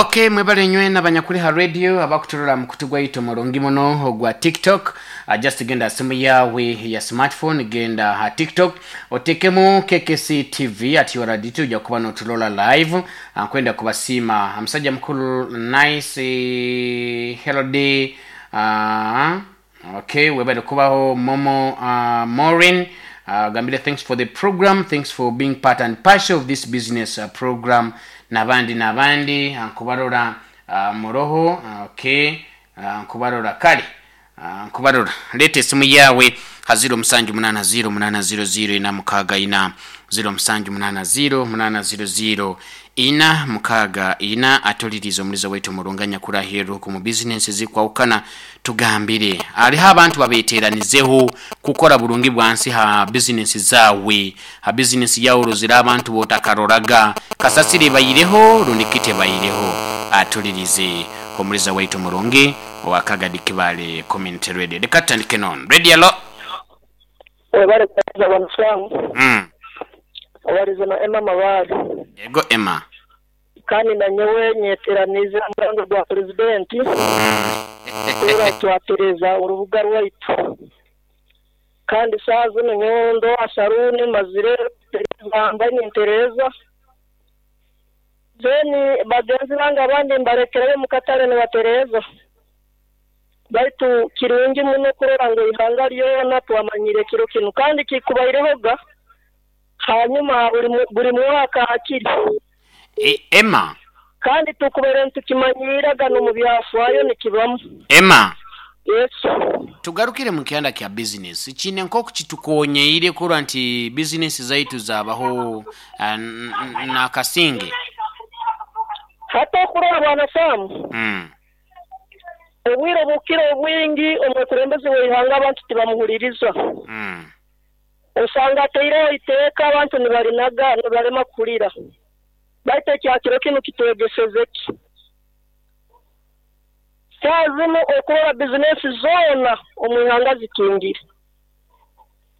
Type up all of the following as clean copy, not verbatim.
Okay, mwebale nywena abanyakuli ha radio abakuturora ha mukutu gwaitu omurungi muno ogwa TikTok. Just genda ha simu yawe ya smartphone, genda ha TikTok otekemu KKC TV at URDT, ojja kuba noturora live. Nkwenda kubasiima omusajja mukulu Nice Herode. Okay, webale kubaho Momo Maureen. Gambire thanks for the program, thanks for being part and parcel of this business program, nabandi nabandi nkubarora muroho. Okay, nkubarora kale, nkubarora. Leeta esimu yawe ha 0780 800 464, 0780 800 464, atulirize omulizo waitu omurungi anyakuri aheeru oku mu bizinensi ezikwahukana. Tugambire, hariho abantu babeteranizeho kukora burungi bwansi ha bizinensi zaawe. Ha bizinensi yawe orozire abantu botakaroraga, kasasiro ebaireho rundi ki tebaireho? Atulirize omuliza waitu omurungi owa Kagadi Kibaale Community Radio. Leka tutandike noonu. Radio alo. Webale kuhereza Bwana Sam. Obalize na Emma Mabare. Yego Emma. Kandi nanyowe nyeteraniize ha murango gwa Purezidenti kurora twatereza orubuga rwaitu. Kandi saaha zinu nyowe ndi owa saruuni mazire kutereza, mbaire nintereza. Then bagenzi bange abandi mbalekerayo omu katare nibatereza. Baitu kirungi muno kurora ngu eihanga ryona twamanyire ekiro kinu kandi kikubairehoga hanyuma buri mwaka hakiri. Emma. Kandi tukubaire nitukimanyiiraga n'omu byafaayo nikibamu. Emma. Yes. Tugarukire mu kyanda kya bizinesi, kiine nk'oku kitukonyeire kurora nti bizinesi zaitu zabaho n'akasinge. Hati okurora Bwana Sam, obwire obukira obwingi omwekulembezi w'eihanga abantu tibamuhuliriza. Osanga ataireho eiteeka abantu nibarinaga nibarema kuhulira. Baitu ekya kiro kinu kitwegeseze ki? Saaha zinu okurora bizinesi zoona omu ihanga zikingire.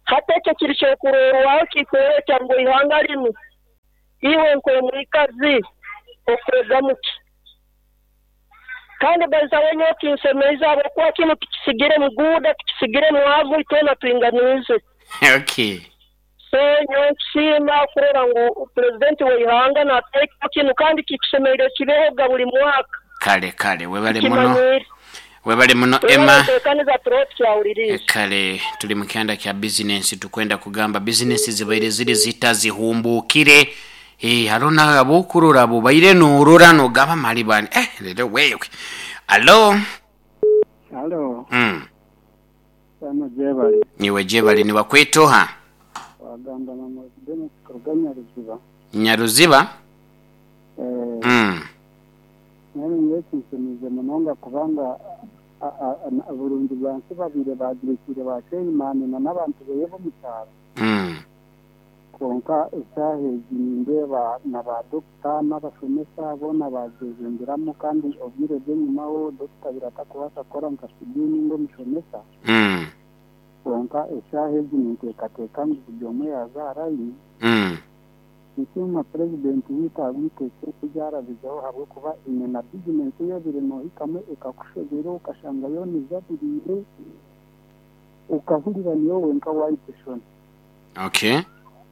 Hati ekyo kiri kyokurorwaho kikwoleka ngu eihanga linu iwe nk'omwikazi okwegamu ki? Kandi baizaho nyowe kinsemeize habwokuba kinu tikisigire muguuda, tikisigire mwavu, itwena twinganiize. So nyowe nkusiima kurora ngu Pulezidenti w'eihanga nateeka kinu kandi kikusemeriire kibehoga buli mwaka. Kale kale webale muno. Tukimanyiire. Webale muno Twena Emma. ntekaniza turoho tukyahuliriize. Kale tuli mu kyanda kya bizinensi tukwenda kugamba bizinensi zibaire ziri zita zihumbuukire. Hariho n'abokurora abo obaire norora nogamba mali bani lero wewe. Alo. Halo. Samu gyebale. Iwe gyebale nibakweta oha? Wagamba na Mwozi Denis kuruga Nyaruziba. Nyaruziba? Eh. Mbwenu nyowe kinshemeize munonga kubanga burungi bwansi babaire bagirekiire ba Chairman na n'abantu beye b'omu kyaro. Kwonka eshaaha egi nindeeba na ba dokita n'abashomesa boona baagyejumbiramu kandi obwire bw'enyimaho dokita abaire atakubaasa kukora nka sidiini ninga omushomesa. Kwonka eshaaha egi ninteekateeka ngu buri omwe yaaza aha layini. Ninsiima Purezidenti waitu ahabw'eiteeka eri eryarabizeho ahabw'okuba eine na bizinensi ei obaire noohikamu ekakushobera okashanga yoona ejabiriire, okahurira niiwe wenka waahika eshoni.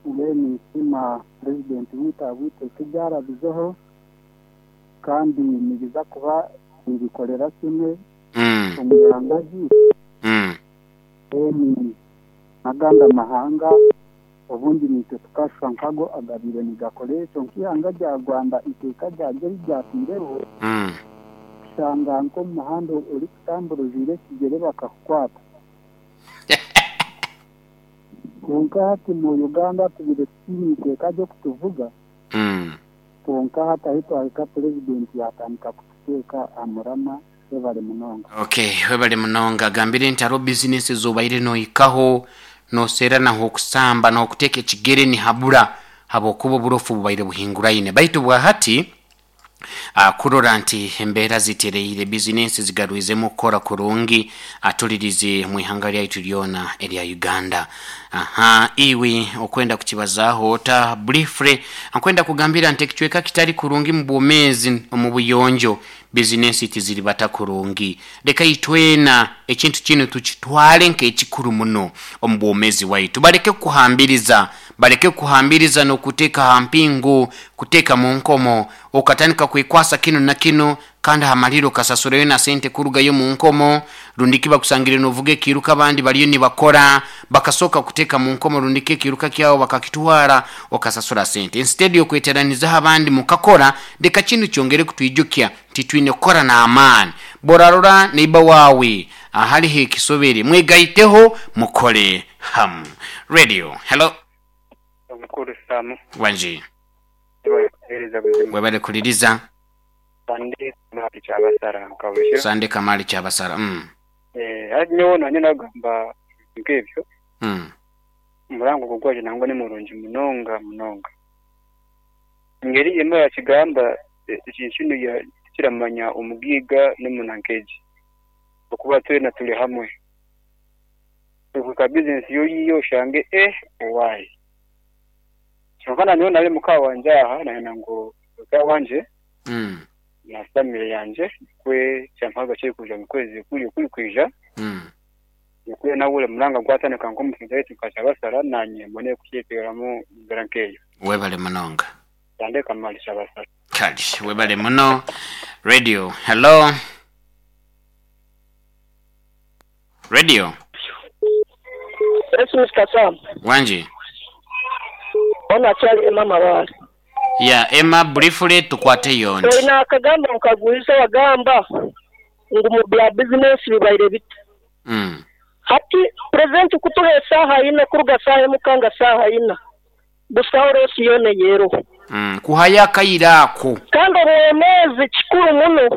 Mbwenu ninsiima Purezidenti waitu ahabw'eiteeka eryarabizeho kandi nibiza kuba nibikorera kimwe omu ihanga ryaitu. Mbwenu n'agandi amahanga obundi naitwe tukashusha nk'ago agabaire nigakora ekyo nk'eihanga rya Rwanda eiteeka ryaryo eri ryataireho kushanga nk'omu muhanda orikutambura ojwaire ekigyere bakakukwata. Kwonka hati mu Uganda tubaire tutaine iteeka ry'okutuvuga kwonka hati ahu twahika Purezidenti yaatandika kututeeka aha muramwa. Webale munonga. Ok webale munonga. Gambire nti hariho bizinesi ezobaire nohikaho noserra nahokusamba nahokuteeka ekigere nihabura habwokuba oburofu bubaire buhinguraine baitu bwahati. Kurora nti embeera zitereire, bizinensi zigarwizemu kukora kurungi, atulirize mu ihanga lyaitu lyona erya Uganda. Aha, iwe okwenda kukibazaho ota briefly? Nkwenda kugambira nti ekicweka kitali kurungi mu bwomezi, omu buyonjo, bizinensi tiziribata kurungi. Leka itwena ekintu kinu tukitwale nk'ekikuru muno omu bwomezi waitu. Baleke kukuhambiriza, baleke kukuhambiriza n'okuteeka ha mpingu, kuteeka mu nkomo, okatandika kwekwasa kinu na kinu, kandi hamaliro okasasurayo na sente kurugayo mu nkomo, rundiki bakusangire novuga ekiruka abandi bariyo nibakora, bakasooka kuteeka mu nkomo, rundiki ekiruka kyawe bakakitwara, okasasura sente instead yokweteranizaho abandi mukakora. Leka kinu kyongere kutwijukya nti twine kukora n'amaani. Borarora neiba wawe ahaliho ekisobere, mwegaiteho mukole hamu. Radio, hello. Omukuru Sam. Wanji. Webale buzima. Webale kuliriza. Sande Kamali Kyabasara nkabushe. Sande Kamali Kyabasara. Hati nyowe nanye nagamba nk'ebyo. Omurango ogwo gwaje nangwa ni murungi munonga munonga. Engeri emwe yakigamba ekintu kinu kiramanya omugiga n'omunankeji. Okuba twena tuli hamwe. Ka business yo yiyo oshange owaayi. Kyonka nanyowe nari muka wanje aha nayenda ngu muka wanje na family yanje kwe kyampaga kiri kuja mu kwezi kuri kuri kwija. Kwe nawe muranga gwatandika nk'omusinza wetu nka nanye mbone kukyeteramu mbera nkeyo. Webale munonga. Sande Kamali Kyabasara. Kali webale muno. Radio, hello. Radio. Yes, Mr. Sam. Wanji. Ona chali Emma Mabale. Ya Emma, briefly tukwate yondi. Olina akagamba nkaguliza wagamba ngu mu bya business bibaire bita. Hati president kutuha esaha ina kuruga saha emukanga saha ina. Busaho rosi yone yero. Kuhaya akaira ako. Kandi obwomezi kikuru muno.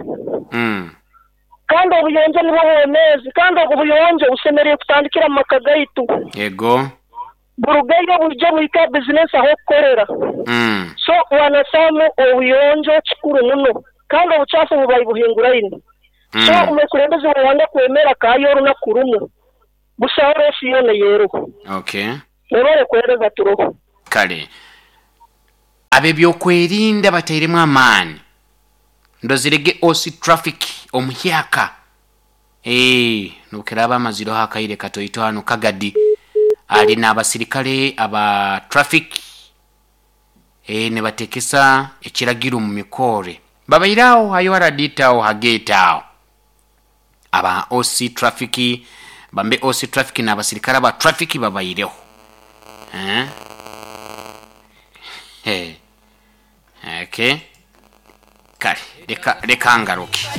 Kandi obuyonjo nibwo bwomezi, kandi obwo buyonjo busemereire kutandikira mu maka gaitu. Yego. Burugayo bujja buhika business aho kukorera. So wanasamu obuyonjo kikuru muno, kandi obuchafu bubayi buhinguraine. So omukulembeze wawanga kwemera kayo orunaku rumwe. Busaho rosi yone yero. Okay. Webale kuhereza turoho. Kale. Ab'ebyokwerinda batairemu amaani. Ndozirege osi traffic omuhyaka. Nukiraba amaziro hakaire katoito hano Kagadi. Ali n'abasirikale aba traffic. Ne batekesa ekiragiro mu mikore. Babairao hayo haraditao hagetao. Aba OC traffic, bambe OC traffic n'abasirikale aba traffic babaireho. Okay. Kale, leka ngaruke.